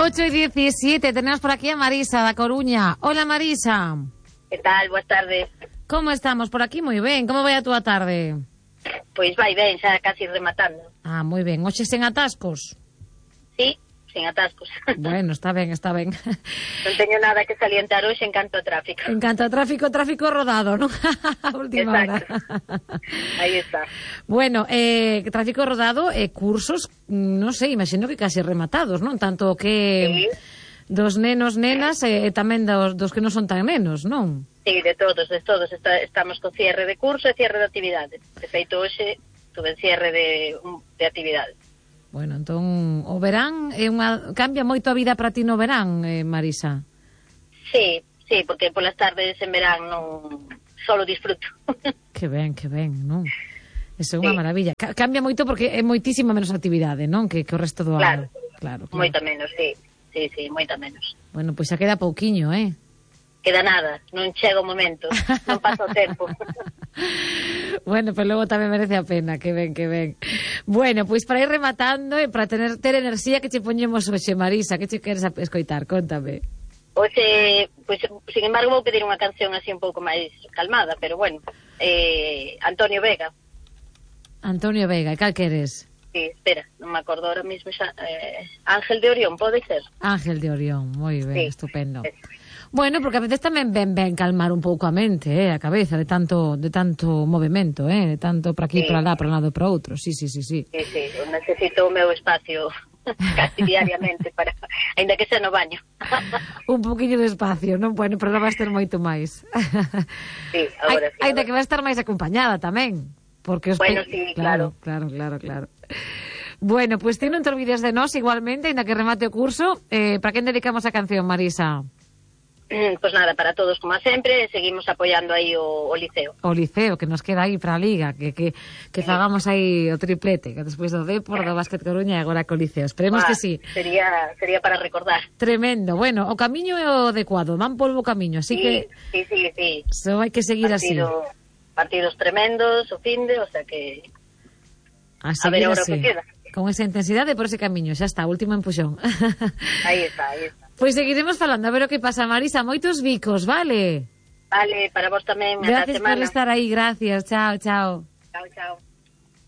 8:17, tenemos por aquí a Marisa da Coruña. Hola, Marisa. Que tal? Boas tardes. Como estamos? Por aquí moi ben. Como vai a túa tarde? Pois vai ben, xa casi rematando. Ah, moi ben. Hoxe sen atascos? Sí, sen atascos. Bueno, está ben, está ben. Non teño nada que salientar hoxe en canto a tráfico. En canto a tráfico rodado, non? A última hora. Aí está. Bueno, tráfico rodado e cursos, non sei, imagino que casi rematados, non? Tanto que... Sí. Dos nenos, nenas e tamén dos que non son tan nenos, non? Sí, de todos. Estamos con cierre de curso e cierre de actividades. De feito, hoxe tuve cierre de actividades. Bueno, entón, o verán cambia moito a vida para ti no verán, Marisa? Sí, porque polas tardes en verán non solo disfruto. Que ben, non? Eso é unha maravilla. Cambia moito porque é moitísima menos actividade, non? Que o resto do ano. Claro. Moita menos, sí. Sí, moita menos. Bueno, pois xa queda pouquiño, Queda nada, non chega o momento, non pasa o tempo. Bueno, pero logo tamén merece a pena, que ben. Bueno, pois para ir rematando e para ter enerxía, que che poñemos hoxe, Marisa, que che queres escoitar? Contame. Hoxe, pois, sin embargo, vou pedir unha canción así un pouco máis calmada, pero bueno, Antonio Vega. Antonio Vega, e cal queres? Sí, espera, non me acordo ahora mismo xa. Ángel de Orión, pode ser? Ángel de Orión, moi ben, sí, estupendo. Bueno, porque a veces tamén ben calmar un pouco a mente, a cabeza, de tanto movimento, de tanto para aquí, para lá, para un lado e para outro. Sí. Sí, eu necesito o meu espacio casi diariamente, ainda que sea no baño. Un poquinho de espacio, non? Bueno, pero non vai ter moito máis. Sí, agora sí. Ainda que vai estar máis acompañada tamén. Porque bueno, sí, claro. Bueno, pues ti non te olvides de nós igualmente, ainda que remate o curso. Para quen dedicamos a canción, Marisa? Pues nada, para todos como sempre, seguimos apoiando aí o Liceo. O Liceo, que nos queda aí para a Liga, que fagamos aí o triplete, que despois do Depor, do Básquet Coruña e agora co Liceo. Esperemos que sí. Sería para recordar. Tremendo. Bueno, o camiño é o adecuado, van polvo o camiño, así que... Sí. Só hai que seguir así. Partidos tremendos, o finde, o sea que... A ver seguir agora así. O que queda. Con esa intensidade por ese camiño, xa está, último empuxón. Aí está. Pois seguiremos falando, a ver o que pasa, Marisa. Moitos bicos, vale? Vale, para vos tamén. Gracias por estar aí, gracias. Chao. Chao.